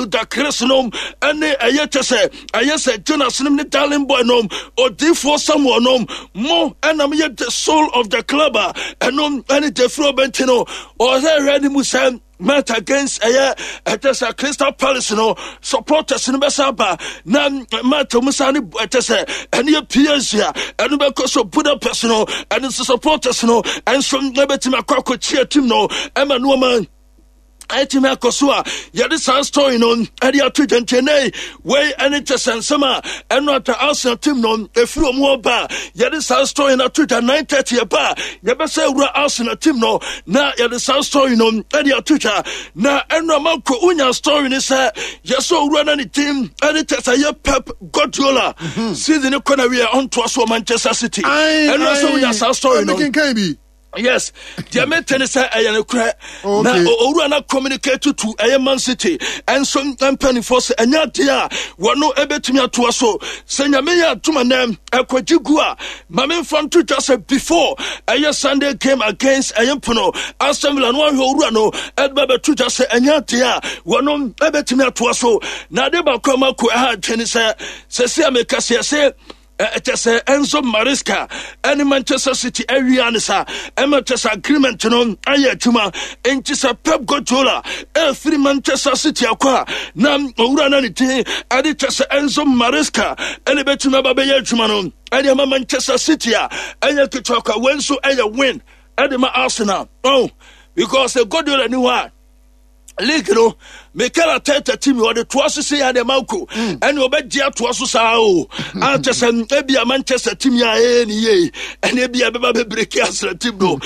Ludacris nom ɛne ɛyɛ kyɛ sɛ ɛyɛ sɛ Jonas nom ne Darling Boy nom odiifoɔ Samuel nom mo ɛna moyɛ the soul of the club a ɛno ɛne Jeffrey Obenti no ɔsɛ hwɛ ne mu sɛ match against ɛyɛ ɛkyɛ sɛ Crystal Palace no supporters no bɛsa aba na match ɔmo sa ne ɛkyɛ sɛ ɛne yɛ PSG a ɛno bɛkɔ so Budapest no ɛno nso supporters no ɛnso ɛbɛtumi akɔ akɔkyia team no ɛma nneɛma ɛtumi akɔ so a yɛde saa story no ɛde ato dwantɛnɛ wei ɛne kyɛ sɛ nsɛm a ɛno ata Arsenal team no ɛfiri ɔmo ɔba a yɛde saa story no ato dwa 9:30 ɛba a yɛbɛsɛ wura Arsenal team no na yɛde saa story no ɛde ato dwa na ɛno ama kɔ wonya story no sɛ yɛsɛ owura no ne team ɛde kyɛ sɛ yɛ Pep Guardiola mhm. season kɔ na wie ɔntoa so wɔ Manchester City ɛno sɛ wonya saa story no yes deɛ mete ne sɛ ɛyɛ nokorɛ na owura no communicate to ɛyɛ Man City ɛnso mpanimfoɔ sɛ ɛnyɛ adeɛ a wɔno ɛbɛtumi atoa so sɛ nyame yɛ adoma nɛ ɛkɔgye gu a ma memfa nto dwa sɛ before ɛyɛ Sunday game against ɛyɛ mpono Aston Villa no ahwɛ owura no ɛde bɛto dwa sɛ ɛnyɛ adeɛ a wɔno ɛbɛtumi atoa so na ade baako a mako ɛha adwene sɛ sɛsi a meka sɛ yɛsɛ ɛkyɛ sɛ Enzo Maresca ɛne Manchester City awia ne sa ɛma kyɛ sɛ agreement no ayɛ adwuma nti sɛ Pep Guardiola ɛfiri Manchester City akɔ a na owura no ne din ɛde kyɛ sɛ Enzo Maresca ɛne bɛtumi aba bɛyɛ adwuma no ɛde ama Manchester City a ɛnyɛ ketewa kwa wei nso ɛyɛ win ɛde ma Arsenal oh because Guardiola ni hɔ a league no Mikel Arteta team ɔde toa so sɛ yɛ manko hmm. ɛne ɔbɛgye atoa so saa o akyɛ sɛ ebia Manchester team yɛ a ɛyɛ ne yie ɛne ebia bɛba bɛbreki Arsenal team no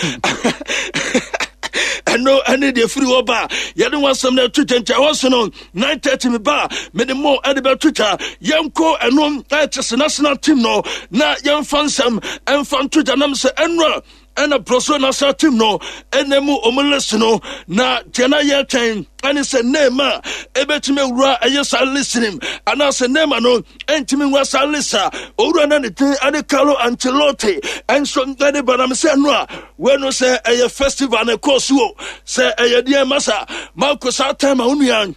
ɛno ɛne deɛ firi hɔ ba yɛde ho asɛm no ɛto kyɛnkyɛn hɔ so no 9:30 me ba mede mo ɛde bɛto twa yɛnkɔ ɛno ɛkyɛ sɛ national team no na yɛmfa nsɛm ɛmfa nto gya nam sɛ ɛno a ɛna Brazil national team no ɛna mu ɔmo list no na deɛ na yɛtwɛn ɛne sɛ Neymar ɛbɛtumi awura ɛyɛ saa list nim anaasɛ Neymar no ɛntumi nwura saa list a owura na ne din ɛne Carlo Ancelotti ɛnso ɛde banam sɛ no a wei no sɛ ɛyɛ festival na ɛkɔɔ so o sɛ ɛyɛ deɛ masa Marco saa time a wo nua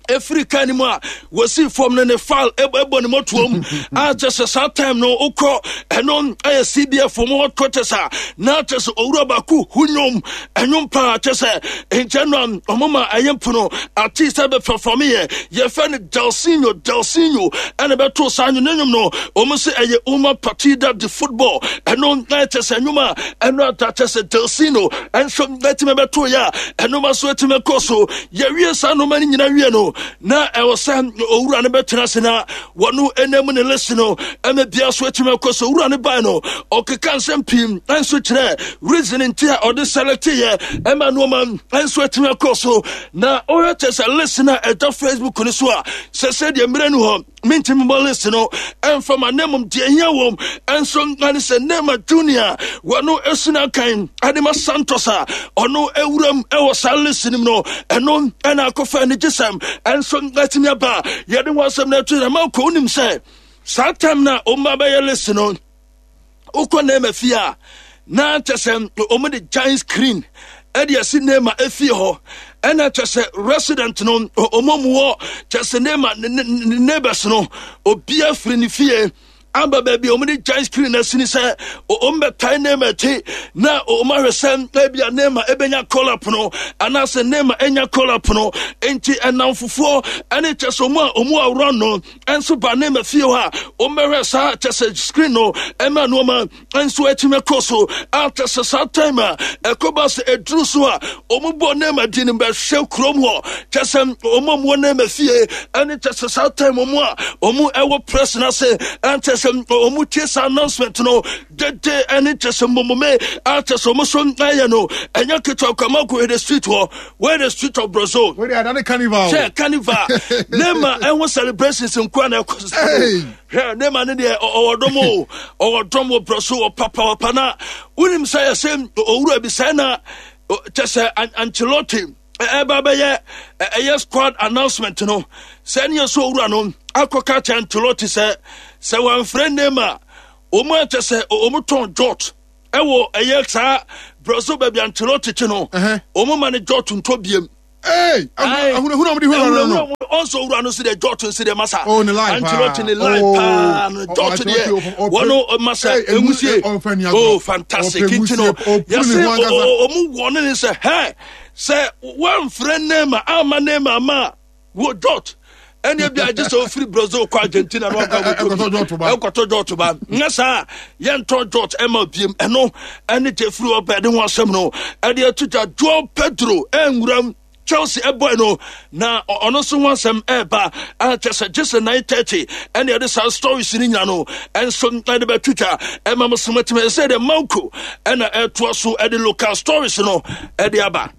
ɛfiri kaa no mu a wɔsii fam no ne file ɛbɔ ne mɔtoam a kyɛ sɛ saa time no wokɔ ɛno ɛyɛ cbf mu headquarters a na kyɛ sɛ owura baako hu nnwom ɛnwom paa kyɛ sɛ nkyɛn no a ɔmo ma ɛyɛ mpono ate sɛ bɛpɛfɔme yɛ yɛfɛ no Delsinho Delsinho ɛna bɛto saa nwom ne nwom no ɔmo sɛ ɛyɛ uma partida de football ɛno ɛkyɛ sɛ nwom a ɛno ata kyɛ sɛ Delsinho ɛnso ɛtumi bɛto yɛ a ɛno ma so ɛtumi kɔ so Yɛwie saa nnoɔma no nyina wie no, na ɛwɔ sɛ owura no bɛtena ase na wɔno ɛnam ne list no ɛma bia so atumi akɔ so. Owura no bae no, ɔkeka nsɛm pii nso kyerɛ reason nti a ɔde select yɛ ɛma nnoɔma nso atumi akɔ so. Na ɔhwɛ kyɛ sɛ list no a ɛda Facebook no so a, sɛ sɛdeɛ mmerɛ no hɔ mentumi mmɔ list no ɛmfa ma na mmom deɛ ɛhia wom ɛnso ɛne sɛ Neymar Junior wɔno ɛsuna kan ɛde ma Santos a ɔno ɛwuram ɛwɔ saa list no mu no ɛno ɛna akɔfa anigyesɛm ɛnso ɛtumi aba yɛde ho asɛm no ɛto yɛn ma kɔ wonim sɛ saa time no a ɔmma bɛyɛ list no wokɔ Neymar fie a na kyɛ sɛ wɔn de giant screen ɛde asi Neymar efie hɔ ɛna kyɛ sɛ resident no wɔn mu wɔ kyɛ sɛ Neymar ne ne neighbors no obiara firi ne fie aba baabi a wɔn de giant screen asi ne sɛ wɔn bɛtae Neymar akyi na wɔn ahwɛ sɛ ebi a Neymar ebenya call up no anaasɛ Neymar enya call up no nti ɛnamfofoɔ ɛne kyɛ sɛ wɔn a wɔn awura no nso ba ne ma fie hɔ a wɔmmɛhwɛ saa kyɛ sɛ screen no ɛma nneɛma nso atumi akɔ so a kyɛ sɛ saa time a ɛkɔba sɛ ɛduru so a wɔn bɔ ne ma di no bɛhwɛ kurom hɔ kyɛ sɛ wɔn a wɔwɔ ne ma fie ɛne kyɛ sɛ saa time wɔn a wɔn ɛwɔ press no ase ɛnkyɛ sɛ wɔn tie saa announcement no dede ɛne kyɛ sɛ mmomome a kyɛ sɛ wɔn so ɛyɛ no ɛnyɛ ketewa kwama kɔ the street hɔ where the street of Brazil. Where the other carnival. Sɛ carnival. Nema ɛho celebrations nkoa na ɛkɔ so. Hwɛ Nema ne deɛ ɔwɔ dɔm o ɔwɔ dɔm wɔ Brazil wɔ papa papa na wonim sɛ yɛsɛ owura bi sɛ na kyɛ sɛ Ancelotti ɛba bɛyɛ ɛyɛ squad announcement no sɛ ne yɛ sɛ owura no akɔka kyɛ Ancelotti sɛ sɛ wɔamfrɛ Nema wɔn akyɛ sɛ wɔn tɔn jot ɛwɔ ɛyɛ saa Brazil baabi Ancelotti te no wɔn ma ne jot ntɔ biem. Ee ahunahuna wɔn de huna no. Ɔnso owura no so deɛ Jot nso deɛ masa. Oh, ne life Ancelotti ne life oh, paa no Jot deɛ wɔn masa enwusie. Oh, fantastic nti no yɛsɛ ɔmo wɔ ne ne sɛ hɛ sɛ wɔnfrɛ Neymar ama Neymar ama wɔ Jot ɛne ebi agye sɛ ofiri Brazil kɔ Argentina na ɔka ɛkɔtɔ Jot ba nyɛ saa yɛntɔ Jot ɛma biem ɛno ɛne Jeffrey ɔbɛ de ho asɛm no ɛde ato dwa Joao Pedro ɛnwuram Chelsea ɛbɔe no na ɔno nso ho asɛm ɛreba kyɛ sɛ gye sɛ 9:30 ɛne ɛde saa stories no nyina no ɛnso ɛde bɛtwitwa ɛma mo so matumi ɛsɛ deɛ manko ɛna ɛtoa so ɛde local stories no ɛde aba.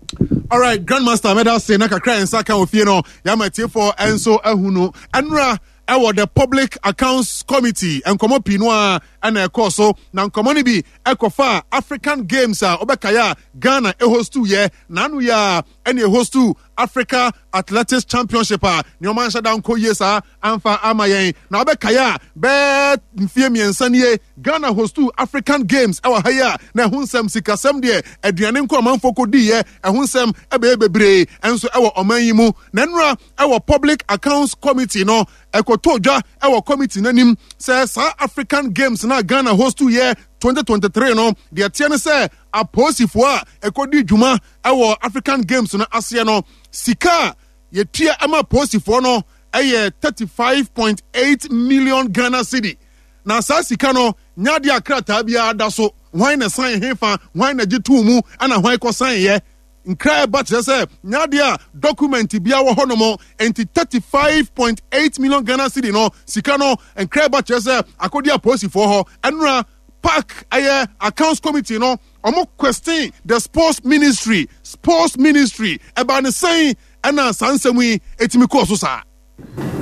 Alright, Grandmaster mɛda ase na kakra yɛn nsa ka wɔ fie no yɛama atiefoɔ nso ahu no ɛnora ɛwɔ the Public Accounts Committee nkɔmɔ pii no a ɛna ɛkɔɔ so na nkɔmɔ no bi ɛkɔfa African Games a ɔbɛkaeɛ a Ghana ɛhostu yɛ n'ano yɛ a ɛna ɛhostu Africa Athletics Championship a nneɛma nhyɛ da nkɔ yie saa amfa ama yɛn na ɔbɛkaeɛ a bɛɛ mfie mmiɛnsa nie Ghana hostu African Games ɛwɔ ha yi a na ɛho nsɛm sikasɛm deɛ aduane nko amanfoɔ kɔdiiɛ ɛho nsɛm ɛbɛyɛ bebree ɛnso ɛwɔ ɔman yi mu na nnora ɛwɔ Public Accounts Committee no ɛkɔtɔ dwa ɛwɔ committee no anim sɛ saa African Games na Ghana hostu yɛ 2023 no deɛ teɛ ne sɛ apolisifoɔ a ɛkɔdi dwuma ɛwɔ African Games no aseɛ no sika a yɛtua ɛma apolisifoɔ no ɛyɛ 35.8 million Ghana cedi na saa sika no nyɛ adeɛ a krataa biara da so hwan na san hefa hwan na gye too mu ɛna hwan kɔ san yɛ nkra ɛba kyerɛ sɛ nyɛ adeɛ a document biara wɔ hɔnom nti 35.8 million Ghana cedi no sika no nkra ɛba kyerɛ sɛ akɔdi apolisifoɔ hɔ ɛnora park ɛyɛ accounts committee no ɔmo question the sports ministry sports ministry ɛbaa ne sɛn ɛna saa nsɛm yi etimi kɔɔ so saa.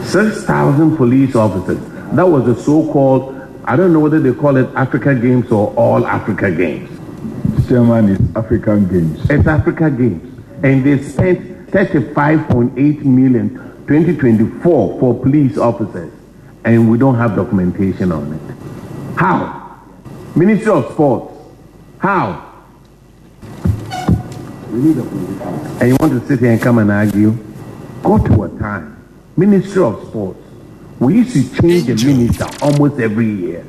6,000 police officers. That was the so-called, I don't know whether they call it Africa Games or All Africa Games. Chairman is African Games. It's Africa Games. And they spent 35.8 million 2024 for police officers. And we don't have documentation on it. How? Ministry of Sports. How? And you want to sit here and come and argue? Go to a time. Ministry of Sports. We used to change the minister almost every year.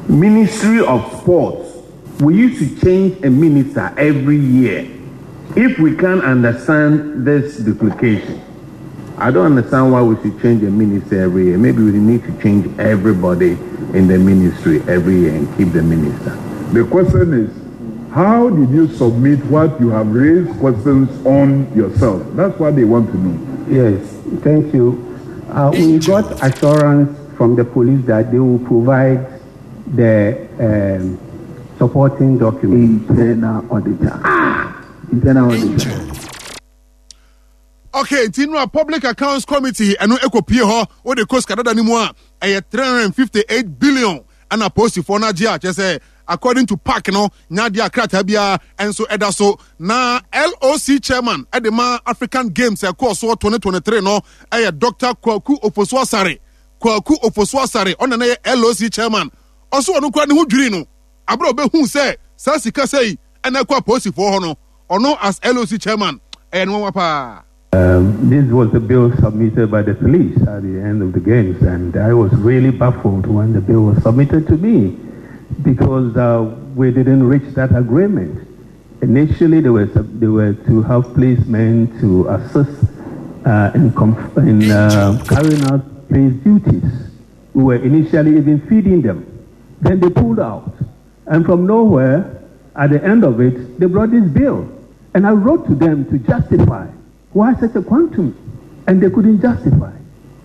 Ministry of Sports. We used to change a minister every year. If we can't understand this duplication, I don't understand why we should change a minister every year. Maybe we need to change everybody in the ministry every year and keep the minister. The question is, how did you submit what you have raised questions on yourself? That's what they want to know. Yes, thank you. Uh, we got assurance from the police that they will provide the um, supporting document. Internal auditor. Ah! Internal auditor. Okay, nti no Public Accounts Committee ɛno ɛkɔpie hɔ wode kɔ sika dada no mu a ɛyɛ 358 billion ɛna polisifoɔ no agye a kyerɛ sɛ according to park no nya adeɛ a krataa biara nso ɛda so na LOC chairman ɛde ma African Games ɛkɔɔ soɔ 2023 no ɛyɛ Dr. Kwaku Ofosu Asare Kwaku Ofosu Asare ɔna na yɛ LOC chairman ɔso ɔno koraa ne ho dwiri no abere a ɔbɛhu sɛ saa sika sɛi ɛna ɛkɔ apolisifoɔ hɔ no ɔno as LOC chairman ɛyɛ no nwanwa paa. Um, this was the bill submitted by the police at the end of the games, and I was really baffled when the bill was submitted to me because uh, we didn't reach that agreement. Initially, they were, they were to have policemen to assist uh, in, in uh, carrying out police duties. We were initially even feeding them. Then they pulled out. And from nowhere, at the end of it, they brought this bill. And I wrote to them to justify why such a quantum. And they couldn't justify.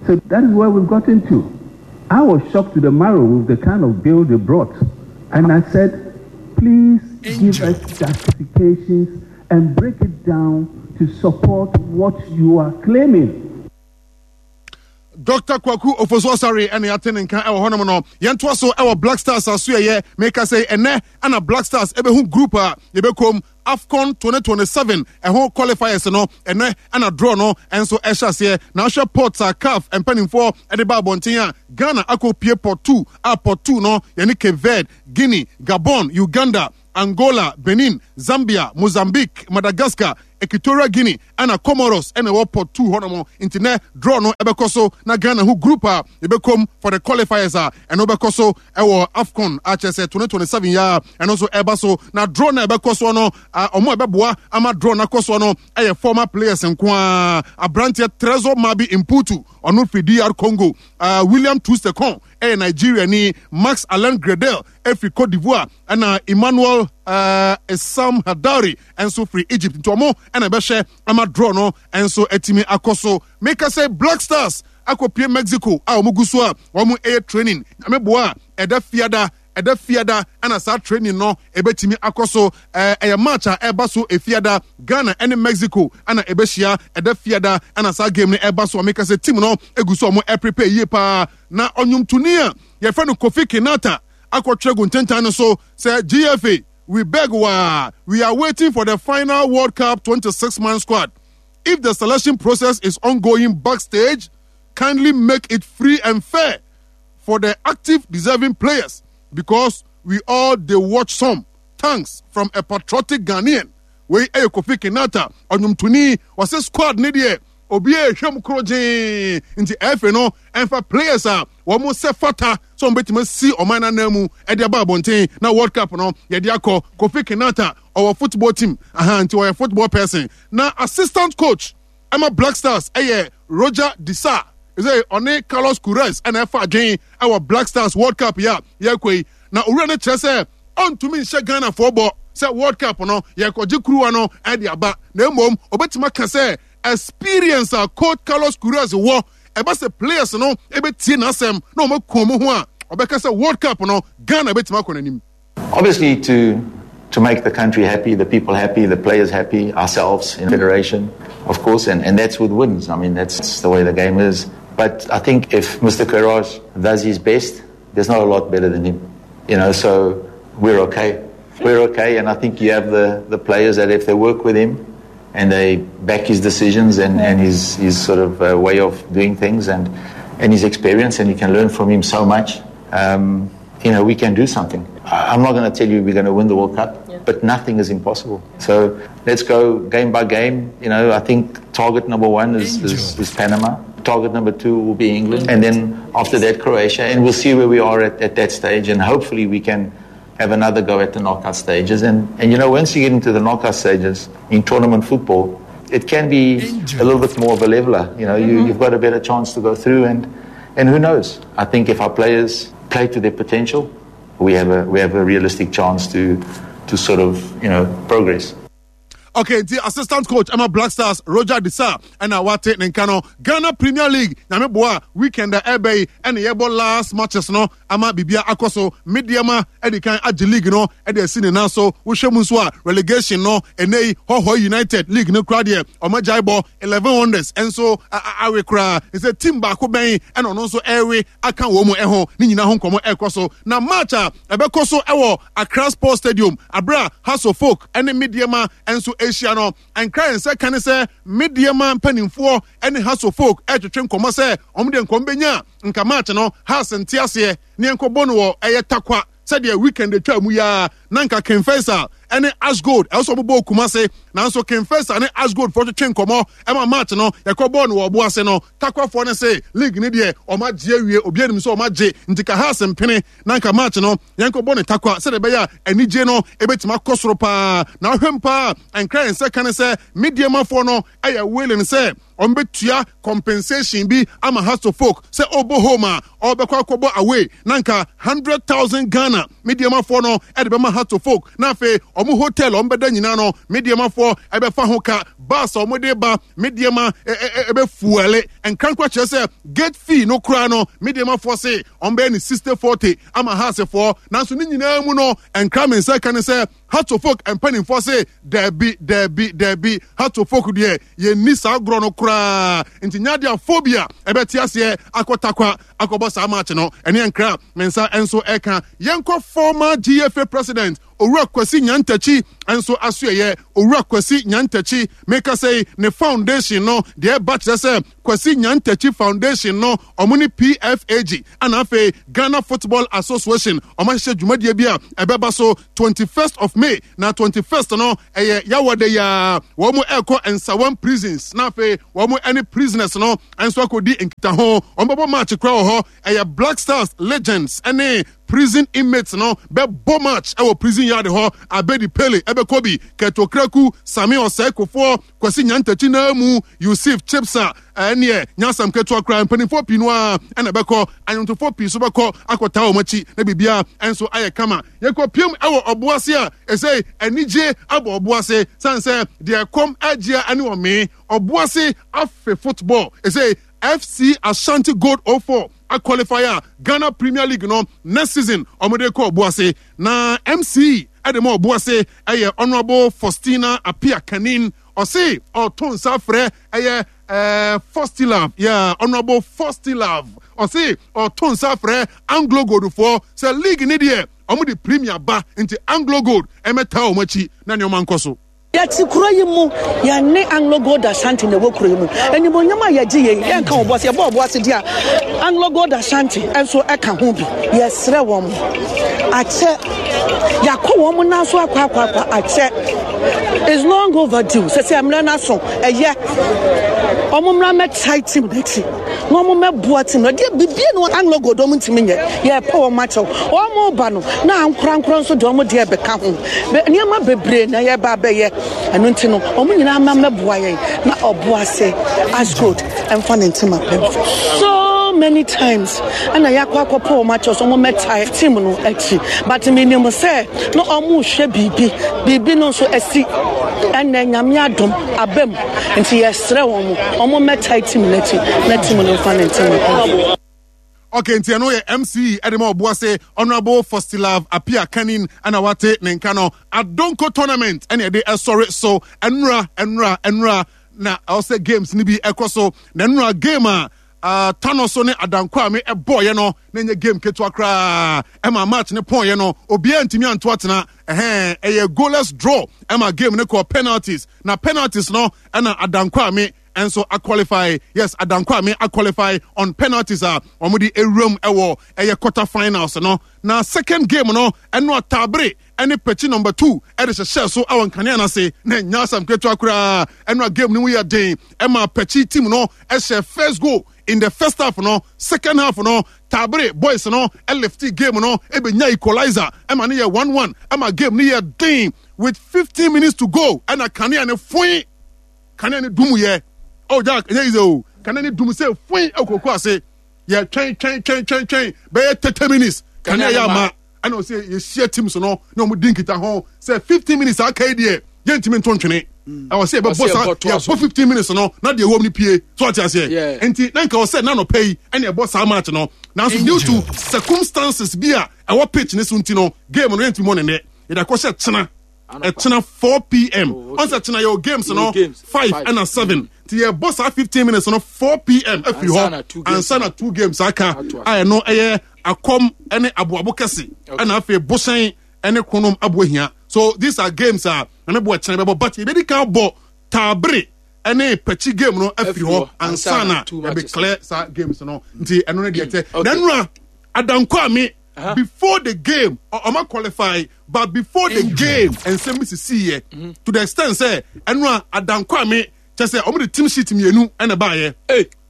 So that is where we've gotten to. I was shocked to the marrow with the kind of bill they brought. And I said, please give us justifications and break it down to support what you are claiming. Dr. Kwaku Ofosu Asare ɛna yɛate ne nka ɛwɔ hɔnom no yɛntoa so ɛwɔ Black Stars aso ɛyɛ meka sɛ ɛnɛ ɛna Black Stars ɛbɛhu group a yɛbɛkɔm AFCON 2027 ɛho qualifiers no ɛnɛ ɛna draw no ɛnso ɛhyɛ aseɛ na ahwɛ pot a CAF mpanimfoɔ ɛde ba abɔnten a Ghana akɔ pie pot 2 a pot 2 no yɛne Cape Verde, Guinea, Gabon, Uganda, Angola, Benin, Zambia, Mozambique, Madagascar, Equatorial Guinea ɛna Comoros ɛna ɛwɔ pot 2 hɔnom. Nti nɛ draw no ɛbɛkɔ so na Ghana ho group a yɛbɛkɔm for the qualifiers a ɛno bɛkɔ so ɛwɔ AFCON a kyerɛ sɛ 2027 yi a ɛno nso ɛba so. Na draw no a ɛbɛkɔ soɔ no, ɔmo a ɛbɛboa ama draw no akɔ soɔ no ɛyɛ former players nko ara. Aberanteɛ Trezor Mabi Mputu, ɔno firi DR Congo. William Troost-Ekong ɛyɛ Nigeria ni. Max Alain Gradel ɛfiri Cote d'Ivoire, ɛna Emmanuel Essam Hadari nso firi Egypt. Nti ɔmo ɛna ɛbɛhwɛ ama draw no nso atumi akɔ so. Meka sɛ Black Stars akɔpie Mexico a wɔn gu so a wɔn ɛyɛ training. Nyame boa a, ɛda fiada, ɛda fiada ɛna saa training no ɛbɛtumi akɔ so. Ɛyɛ match a ɛba so efiada, Ghana ɛne Mexico ɛna ɛbɛhyia ɛda fiada ɛna saa game no ɛba so. A meka sɛ team no egu so a wɔn ɛprepare yie paa. Na ɔnwomtoni a yɛfrɛ no Kofi Kinata akɔtwerɛ gu ntentan no so sɛ GFA, we beg waa, we are waiting for the final World Cup 26 man squad. If the selection process is ongoing backstage, kindly make it free and fair for the active deserving players, because we all dey watch some. Thanks from a patriotic Ghanaian. Wei ɛyɛ Kofi Kinata, ɔnwomtoni. Ɔsɛ squad ne deɛ obi a ɛhwɛ mu koro gyee, nti ɛfɛ no ɛmfa players a wɔn sɛ fata sɛ wɔn bɛtumi asi ɔman no anan mu ɛde aba abɔnten na World Cup no yɛde akɔ. Kofi Kinata ɔwɔ football team aha, nti ɔyɛ football person. Na assistant coach ɛma Black Stars ɛyɛ Roger Disa, ɛsɛ ɔne Carlos Queiroz ɛna ɛfa adwen ɛwɔ Black Stars World Cup yi a yɛkɔ yi. Na owura no kyerɛ sɛ ɔntumi nhyɛ Ghanafoɔ bɔ sɛ World Cup no yɛkɔgye kuruwa no ɛde aba, na mmom obɛtumi aka sɛ experience a coach Carlos Queiroz wɔ, ɛba sɛ players no ɛbɛtie n'asɛm na wɔn aku wɔn ho a, ɔbɛka sɛ World Cup no Ghana bɛtumi akɔ n'anim. Obviously to to make the country happy, the people happy, the players happy, ourselves in federation, of course, and, and that's with wins. I mean, that's the way the game is. But I think if Mr. Queiroz does his best, there's not a lot better than him. You know, so we're okay. We're okay, and I think you have the, the players that if they work with him and they back his decisions and, and his, his sort of uh, way of doing things and, and his experience, and you can learn from him so much. Um, you know, we can do something. I'm not going to tell you we're going to win the World Cup, yeah. but nothing is impossible. So let's go game by game. You know, I think target number one is, is, is Panama. Target number two will be England. And then after that, Croatia. And we'll see where we are at, at that stage. And hopefully we can have another go at the knockout stages. And, and you know, once you get into the knockout stages in tournament football, it can be a little bit more of a leveler. You know, mm-hmm. you, you've got a better chance to go through. And, and who knows? I think if our players play to their potential, we have a, we have a realistic chance to, to sort of, you know, progress. Okay, nti assistant coach ɛma Black Stars Roger Disa ɛna wate ne nka no. Ghana Premier League, nyame boa, weekend a ɛbɛ yi ɛna yɛbɔ last matches no ama biribia akɔ so. Medeama ɛde kan agye league no ɛde asi ne nan so. Wohwɛ mu nso a, relegation no ɛnɛ yi Hɔhɔ United league no koraa deɛ ɔma gyae bɔ. 11 Wonders nso awe koraa sɛ team baako bɛn ɛna ɔno nso ɛrewe aka wɔn mu ɛho ne nyinaa ho nkɔmɔ ɛrekɔ so. Na match a ɛbɛkɔ so ɛwɔ Accra Sports Stadium abere a Hearts of Oak ne Medeama nso ahyia no, nkra yɛn nsa ka ne sɛ Medeama mpanimfoɔ ne Hearts of Oak ɛretwetwe nkɔmɔ sɛ wɔn deɛ nkɔmɔ bɛnya nka match no Hearts nte aseɛ ne yɛnkɔbɔ no wɔ ɛyɛ Tarkwa sɛdeɛ weekend atwa mu yi ara na nka King Faisal ne Ash Gold ɛwɔ sɛ wɔbɔ Kumase, nanso King Faisal ne Ash Gold foɔ twetwe nkɔmɔ ɛma match no yɛkɔ bɔɔl no wɔ ɔbo ase no. Takwafoɔ no se league no deɛ wɔn agye awie, obi anim sɛ wɔn agye, nti ka Hearts mpene na nka match no yɛnkɔ bɔ ne Takwa sɛdeɛ ɛbɛyɛ a anigye no ɛbɛtumi akɔ soro paa. Na ahwɛm paa nkra yɛn nsa ka ne sɛ Mediamafoɔ no ɛyɛ willing sɛ wɔn bɛtua compensation bi ama Hearts of Oak sɛ ɔbɔ home a ɔbɛkɔ akɔbɔ away, na nka 100,000 Ghana Mediamafoɔ no ɛde bɛma Hearts of Oak, na afei wɔn hotel a wɔn bɛda nyinaa no Mediamafoɔ ɛbɛfa ho ka, bus a wɔn de ba Mediama ɛbɛfuɛle nkrankora, kyerɛ sɛ gate fee no koraa no Mediamafoɔ se wɔn bɛyɛ ne 60-40 ama Heartsfoɔ. Nanso ne nyinaa mu no nkra me nsa ka ne sɛ Hearts of Oak mpanimfoɔ se daabi daabi daabi, Hearts of Oak deɛ yɛnni saa agorɔ no koraa, nti nyɛ adeɛ a phobia ɛbɛte aseɛ akɔ Takwa akɔbɔ saa match no. Ɛne nkra me nsa nso ɛka. Yɛnkɔ former GFA president. Owura Kwasi Nyantakyi nso asoɛyɛ. Owura Kwasi Nyantakyi, meka sɛ ne foundation no deɛ ɛba kyerɛ sɛ Kwasi Nyantakyi Foundation no, wɔn ne PFAG ɛna afei Ghana Football Association wɔn ahyehyɛ dwumadie bi a ɛbɛba so 21st of May na 21st no ɛyɛ Yawada yi ara wɔn ɛrekɔ Nsawam prisons na afei wɔn ɛne prisoners no nso akɔdi nkitaho. Wɔn bɛbɔ match koraa wɔ hɔ. Ɛyɛ Black Stars Legends ɛne prison inmates no bɛbɔ match ɛwɔ prison yard hɔ. Abedi Pele ɛbɛkɔ bi, Kurt Okraku, Sami Osei Kufuor, Kwasi Nyantakyi naa mu, Yusuf Chipsa, ɛneɛ nyɛ asɛm ketewa koraa. Mpanimfoɔ pii no ara ɛna ɛbɛkɔ, anwontofoɔ pii nso bɛkɔ akɔtaa wɔn akyi na biribiara nso ayɛ kama. Yɛkɔpiem ɛwɔ Ɔboase a ɛsɛ anigye abɔ Ɔboase sane sɛ deɛ ɛkɔm agyea ɛne ɔmee. Ɔboase afe football ɛsɛ FC Ashanti Gold 04 aqualify a Ghana Premier League no next season wɔde kɔ Ɔboase na MC ɛde ma Ɔboase ɛyɛ Honourable Faustina Appiah Kanin ɔse ɔto nsa frɛ ɛyɛ ɛɛ Faustilove yeah Honourable Faustilove ɔse ɔto nsa frɛ Anglo Gold foɔ sɛ league ne deɛ wɔn de Premier ba nti Anglo Gold ɛmɛtaa wɔn akyi na nneɛma nkɔ so. Yɛte kuro yi mu, yɛne Anglo Gold Ashanti na ɛwɔ kuro yi mu. Animuonyam a yɛgye yei, yɛnka ɔbo ase, yɛbɔ ɔbo ase deɛ a, Anglo Gold Ashanti nso ka ho bi. Yɛsrɛ wɔn, akyɛ, yɛakɔ wɔn nan so akɔ akɔ akɔ, akyɛ. It's long overdue, sɛ sɛ mmerɛ no aso, ɛyɛ. Wɔn mmra mmɛtae team no akyi. Na wɔn mɛboa team no. Deɛ bibie no Anglo Gold wɔn ntumi nyɛ. Yɛpɛ wɔn akyɛw. Wɔn ba no na ankorankora nso deɛ wɔn deɛ bɛka ho. Nneɛma bebree na yɛba abɛyɛ. Ɛno nti no wɔn nyinaa ma mɛboa yɛn na Ɔboase Ashgold mfa ne ntoma pɛ. So many times ɛna yɛakɔ akɔpɛ wɔn akyɛw so wɔn mɛtae team no akyi. But menim sɛ na wɔn rehwɛ biribi. Biribi no nso asi. Ɛnɛ Nyame adom aba mu. Nti yɛsrɛ wɔn, wɔn mmɛtae team no akyi na team no mfa ne ntɛm nkɔ. Okay, nti ɛno yɛ MC ɛde ma Ɔboase Honourable Fostilav Appiah Kanin ɛna wate ne nka no. Adonko tournament ɛna ɛde ɛsɔre so ɛnora ɛnora ɛnora na ɛwɔ sɛ games no bi ɛkɔ so na ɛnora game a uh, Tano so ne Adankwame ɛbɔɔyɛ no na ɛnyɛ game ketewa koraa ɛma match ne pɔnyɛ no obiara ntumi anto atena ɛhɛn ɛyɛ goalless draw ɛma game no kɔ penalties na penalties no ɛna Adankwame nso aqualify yes Adankwame aqualify on penalties a wɔn de ewuram ɛwɔ ɛyɛ quarter finals no na second game no ɛno atabere ɛne pɛkyi number 2 ɛde hyehyɛɛ so ɛwɔ nkanea no ase na ɛnyɛ asɛm ketewa koraa ɛno a game no mu yɛ den ɛma pɛkyi team no ɛhyɛ first goal in the first half no second half no Tabere boys no ɛlifti game no ɛbɛnya equalizer ɛma no yɛ 1-1 ɛma game no yɛ den with 15 minutes to go ɛna kanea no foe kanea no dum yɛ oh Jack ɛnyɛ easy o kanea no dum sɛ foe ɛwɔ koko ase yɛ twɛn twɛn twɛn twɛn twɛn bɛyɛ 30 minutes kanea yɛ ama ɛna ɔsɛ yɛhyia teams no na wɔn di nkita ho sɛ 15 minutes aka yi deɛ yɛntumi nto ntwene ɛwɔ sɛ yɛbɛbɔ sa yɛbɔ 15 minutes no na deɛ ɛwɔ mu no pie so ɔte aseɛ nti na nka ɔsɛ na nɔpɛ yi ɛna ɛbɔ saa match no nanso due to circumstances bi a ɛwɔ pitch ne so nti no game no yɛntumi mɔ ne nnɛ yɛde akɔhyɛ kyena ɛkyena 4 pm ɔn sɛ kyena yɛwɔ games no 5 ɛna 7 nti yɛbɔ saa 15 minutes no 4 pm afiri hɔ ansa na two games aka a ɛno ɛyɛ akɔm ɛne aboabo kɛse ɛna afei bohyɛn ɛne kronom aboahia so these are games a na mebɔ ɛkyena bɛbɔ but yɛbɛdi kan bɔ taabere ɛne pɛkyi game no afiri hɔ ansa na yɛbɛ clear saa games no nti ɛno ne deɛ tɛ na nnura adankɔ ame Uh-huh. Before the game, ɔma qualify, but before the game, nsɛm bi sisi yɛ mm-hmm. to the extent sɛ ɛno a Adankwame kyɛ sɛ ɔmo de team sheet mmienu ɛna baayɛ.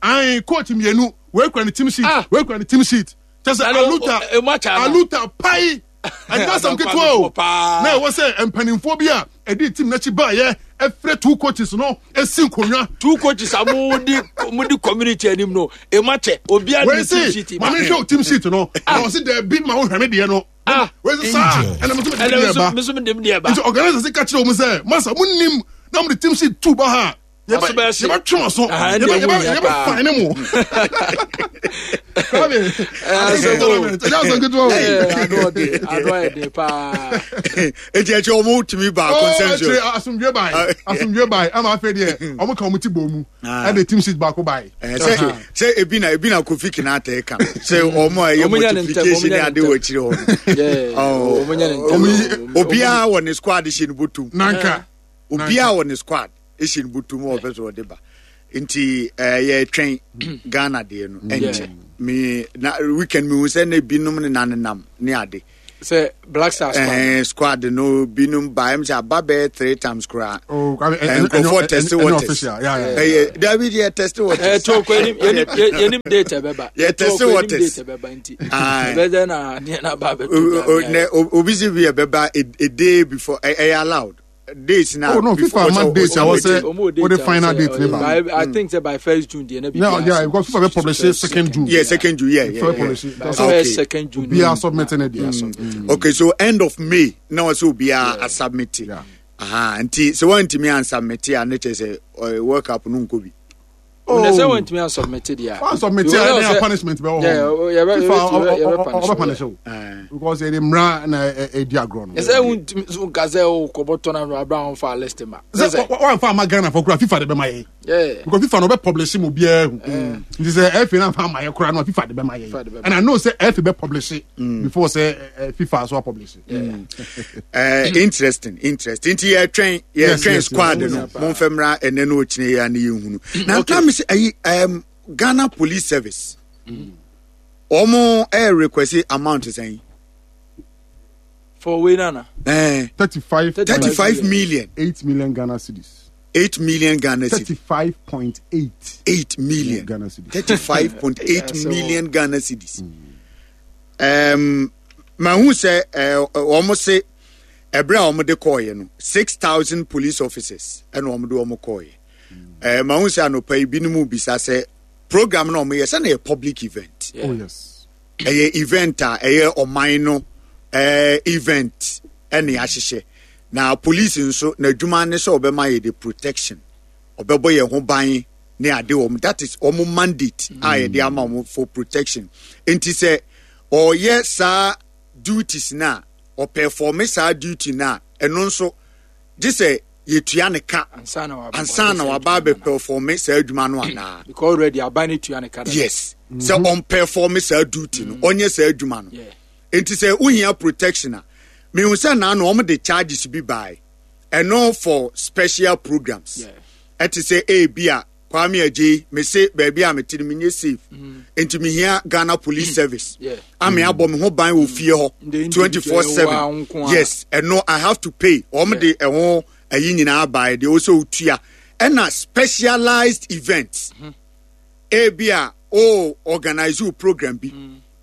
Ayi coach mmienu wei kura ne team sheet, ah. wei kura ne team sheet. Kyɛ sɛ aluta aluta pai ɛnyɛ asɛm ketewa o na ɛwɔ sɛ mpanimfoɔ bi a ɛde team n'akyi baayɛ ɛfrɛ two coaches no esi nkonnwa. Two coaches a mo di mo di community anim no emu akyɛ obiara di team sheet. Maame nhwɛ o team sheet no na ɔsi dɛbi ma o hwɛ mi deɛ no. Ah. Wei sɛ saa ɛna mo nso mi deɛ ba. Mi nso mi deɛ ba. Nti organizer si ka kyerɛ wɔn sɛ masa mo nim na mo de team sheet tu ba ha. Yɛbɛ twe wɔn so yɛbɛ yɛbɛ yɛbɛ fine mu. Kwame, tournament. Ɛnyɛ asɛm ketewa o. Ano ɔde, ano ayɛ den paa. Eti ɛkyɛ wɔn tumi ba consensus. Ɔɔ asomdwe bae, asomdwe bae. Ama afei deɛ wɔn ka wɔn ti bɔ mu. Ɛde team sheet baako bae. Sɛ sɛ ebi na ebi na Kofi Kinata ka sɛ wɔn a ɛyɛ multiplication ne ade wɔ akyire hɔ. Obiara wɔ ne squad hyɛ ne bɔtɔm. Nanka. Obiara wɔ ne squad. Esi no butu mu ɔpɛ sɛ ɔde ba nti ɛɛ yɛtwɛn Ghana deɛ no ɛnkyɛ me na weekend mi hu sɛ ne binom ne nanenam ne ade. Sɛ Black Stars squad. Ɛɛ squad no binom ba ɛm sɛ aba bɛyɛ three times koraa. Oh, nkurɔfoɔ test waters. Ɛyɛ dabi deɛ test waters. Ɛɛ to ko yɛnim yɛnim yɛnim date ɛbɛba. Yɛ test waters. Yɛnim date ɛbɛba nti. Ɛbɛdɛ na neɛ na ba abɛto. Nɛ obi si bi ɛbɛba a day before ɛyɛ allowed. Dates na. Oh no, FIFA ama dates a wɔsɛ wɔde final date ne ba. I think say by first June deɛ na bi. Yeah, yeah, because FIFA bɛ publish second June. Yeah, second June, yeah, yeah. FIFA publish. Okay. Second June. Obiara submit ne deɛ. Okay, so end of May na wɔsɛ obiara asubmit. Aha, nti sɛ wɔntumi ansubmit a ne kyerɛ sɛ World Cup no nkɔ bi. Oh. Na sɛ wɔntumi ansubmit deɛ a. Wɔnsubmit a ɛna punishment bɛ wɔ hɔ. FIFA ɔbɛ punish o. Because ɛde mmara na ɛdi agorɔ no. Ɛsɛ wontumi so nka sɛ wokɔbɔ tournament abira wɔn fa list ma. Sɛ wɔn fa ama Ghana fɔ kura FIFA de bɛ ma yɛ. Because FIFA na ɔbɛ publish mu obiara hu. Nti sɛ FA na fa ama yɛ kura no FIFA de bɛ ma yɛ. And I know sɛ FA bɛ publish before sɛ FIFA so publish. Interesting, interesting. Nti yɛtwɛn yɛtwɛn squad no momfɛ mmra ɛnɛ no ɔkyinɛ yɛ ne yɛhunu na nka me sɛ ayi Ghana Police Service wɔn ɛyɛ request amount sɛn for wei nana 35 35 million 8 million Ghana cedis. 8 million Ghana cedis. 35.8 8 million Ghana cedis. 35.8 million Ghana cedis. Mahu sɛ wɔn se ɛberɛ a wɔn de kɔɔeɛ no 6,000 police officers ɛna wɔn de wɔn kɔɔeɛ. Mahu sɛ anɔpa yi binom bisa sɛ program na wɔn yɛ sɛ na yɛ public event. Oh yes. Ɛyɛ event a ɛyɛ ɔman no event ɛna yɛahyehyɛ na police nso n'adwuma ne sɛ ɔbɛma yɛ de protection, ɔbɛbɔ yɛn ho ban ne ade wɔn, that is wɔn mandate a yɛde ama wɔn for protection. Nti sɛ ɔyɛ saa duties na ɔperforme saa duty na ɛno nso gye sɛ yɛtua ne ka ansa na waba abɛperforme saa adwuma no anaa. Because already aban no tua ne ka. Yes, sɛ ɔmperforme saa duty no, ɔnyɛ saa adwuma no. Nti sɛ wohia protection a, mehu sɛ naa no wɔn de charges bi bae ɛno for special programs. Ɛte sɛ ebi a Kwame Adjei, me se baabi a mete no menyɛ safe, nti mehia Ghana Police Service ame abɔ me ho ban wɔ fie hɔ 24/7. Yes, ɛno I have to pay. Wɔn de ɛho ayi nyinaa bae deɛ wɔsɛ otua. Ɛna specialized events, ebi a o organize o program bi,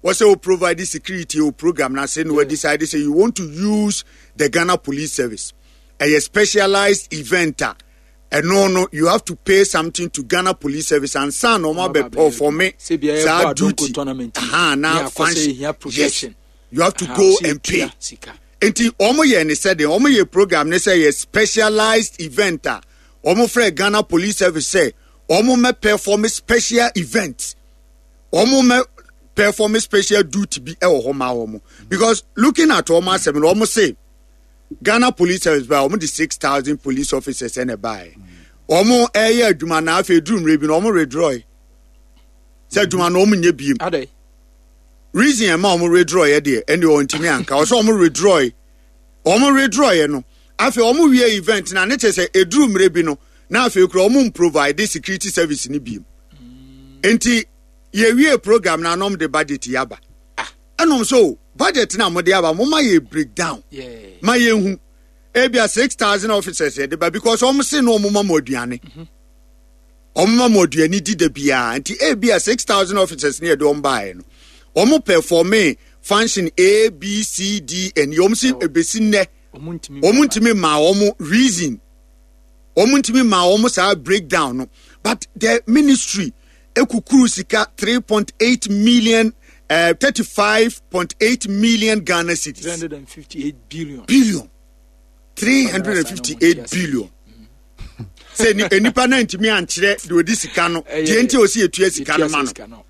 wɔsɛ o provide security o program na se na wɔ decide say you want to use the Ghana Police Service. Ɛyɛ specialized event a ɛno no you have to pay something to Ghana Police Service ansa na wɔn abɛ perform saa duty. Aha, na function. Yes, you have to go and pay. Nti wɔn yɛ ne sɛ deɛ wɔn yɛ program ne sɛ yɛ specialized event a wɔn frɛ Ghana Police Service sɛ wɔn mɛ perform special event, wɔn mɛ perform special duty bi ɛwɔ hɔ ma wɔn, because looking at wɔn asɛm no wɔn se Ghana Police Service ba wɔn de 6,000 police officers ɛna ɛbaeɛ. Wɔn ɛyɛ adwuma na afei duru mmerɛ bi na wɔn withdraw sɛ adwuma no wɔn nyɛ biem. Reason ɛma wɔn withdraw yɛ deɛ ɛne wɔn ntumi anka ɔsɛ wɔn withdraw, wɔn withdraw yɛ no afei wɔn wie event na ne kyerɛ sɛ eduru mmerɛ bi no na afei kura wɔn provide security service ne biem. Nti yɛwie program na anam de budget yaba. Ɛnom so budget na mo de aba mo ma yɛ breakdown ma yɛ hu ebia 6,000 officers yɛ de ba because wɔn se no wɔn ma mo aduane, wɔn ma mo aduane di da biara, nti ebia 6,000 officers ne yɛ de wɔn baeɛ no wɔn performe function A B C D and wɔn si ebesi nnɛ wɔn ntumi ma wɔn reason, wɔn ntumi ma wɔn saa breakdown no, but the ministry ekukuru sika 3.8 million, 35.8 million Ghana cedis. 358 billion. Billion. 358 billion. Sɛ nipa na ntumi ankyerɛ deɛ ɔdi sika no, deɛ nti ɔsi etua sika no ma no.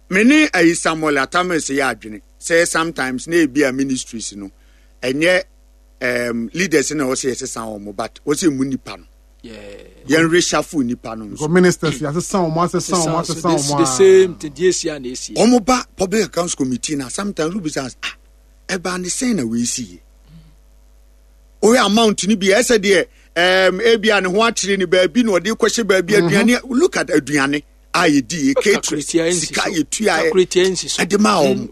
Me ne ayi Samuel Atta Mills yɛ adwene sɛ sometimes na ebi a ministries no ɛnyɛ um, leaders na wɔsɛ yɛsesa wɔn but wɔsɛ mu nipa no yɛn reshuffle nipa no nso. Ministers yɛasesa wɔn asesa wɔn asesa wɔn the same thing deɛ esi a na esi. Wɔn ba public accounts committee na sometimes who bisa ah ɛbaa ne sɛn na wei si yie wohwɛ amount no bi ɛsɛ deɛ ɛɛm ebi a ne ho akyere ne baabi na ɔde kɔhyɛ baabi mhm. aduane look at aduane a yɛdi yɛ catering sika yɛtua ɛde maa wɔn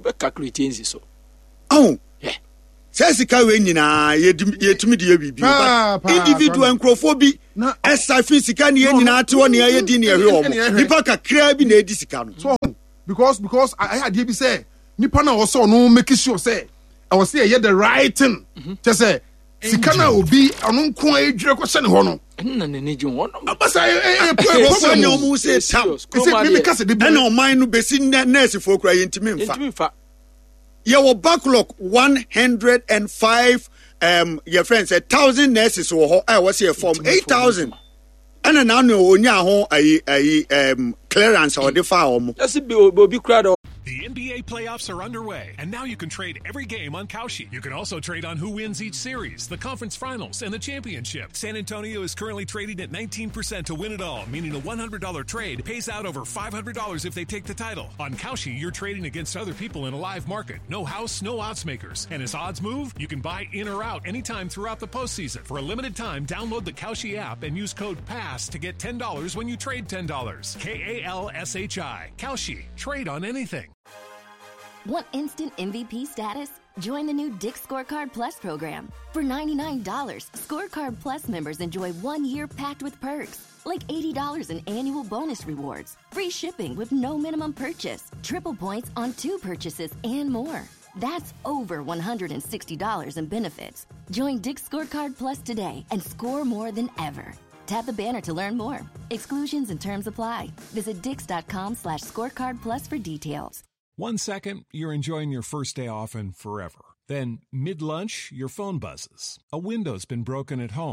ɔn sɛ sika wei nyinaa yɛtumi de yɛ biribi but individual nkurɔfoɔ bi ɛsa fi sika ne yɛ nyinaa te hɔ ne yɛ di ne yɛhwɛ wɔn nipa kakraa bi na ɛdi sika no. because because ayɛ adeɛ bi sɛ nipa na ɔsɛ ɔno make sure sɛ ɛwɔ sɛ yɛyɛ the right thing mhm. kyɛ sɛ sika na obi ɔno nko a edwira kɔhyɛ ne hɔ no. ɛnna n'ani gye ho ɔno. abasa ɛ ɛ problem o. ɔmo sɛ tam. ɛsɛ mímí kasa de bi. ɛnna ɔman no besi nnɛ nɛɛsifoɔ kura yɛn ntumi nfa. Yɛntumi nfa. Yɛwɔ backlog 105 um, yɛ friend sɛ thousand nurses wɔ hɔ a ɛwɔ sɛ yɛ form 8,000 ɛna n'ano onya ho ayi ayi um, clearance a ɔde fa wɔn. Yɛsi bi obi kura dɔ. The NBA playoffs are underway, and now you can trade every game on Kalshi. You can also trade on who wins each series, the conference finals, and the championship. San Antonio is currently trading at 19% to win it all, meaning a $100 trade pays out over $500 if they take the title. On Kalshi, you're trading against other people in a live market. No house, no odds makers. And as odds move, you can buy in or out anytime throughout the postseason. For a limited time, download the Kalshi app and use code PASS to get $10 when you trade $10. K A L S H I. Kalshi. Trade on anything. Want instant MVP status? Join the new Dick Scorecard Plus program. For $99, Scorecard Plus members enjoy one year packed with perks, like $80 in annual bonus rewards, free shipping with no minimum purchase, triple points on two purchases, and more. That's over $160 in benefits. Join Dick Scorecard Plus today and score more than ever. Tap the banner to learn more. Exclusions and terms apply. Visit dix.com slash scorecard plus for details. One second, you're enjoying your first day off and forever. Then, mid lunch, your phone buzzes. A window's been broken at home.